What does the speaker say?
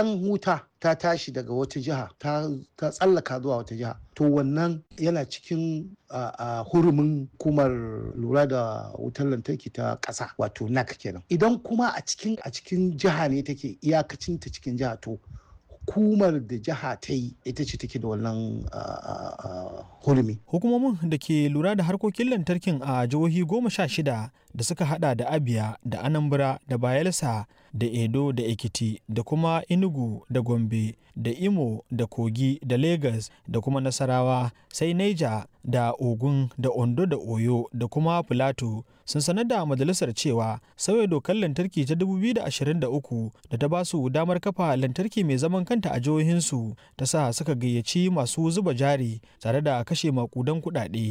Idan wuta ta tashi daga wata jiha ta tsallaka zuwa wata jiha, to wannan yana cikin hurumin hukumar lura da wutar lantarki ta ƙasa, wato NAC kenan. Idan kuma a cikin jiha ne take, iyakacin ta cikin jiha, to hukumar da jiha ta yi ita ce take da wannan hurumi. Hukumomin da ke lura da harkokin lantarkin a jihohi 16 da suka hada da Abia da Anambra da Bayelsa da Edo da Ekiti da kuma Enugu da Gombe da Imo da Kogi da Lagos da kuma Nasarawa, sai Niger da Ogun da Ondo da Oyo da kuma Filato, sun sanar da majalisar cewa sauya dokar lantarki ta 2023 da ta ba su damar kafa lantarki mai zaman kanta a jihohinsu ta sa suka gayyaci masu zuba jari tare da kashe makudan kuɗaɗe.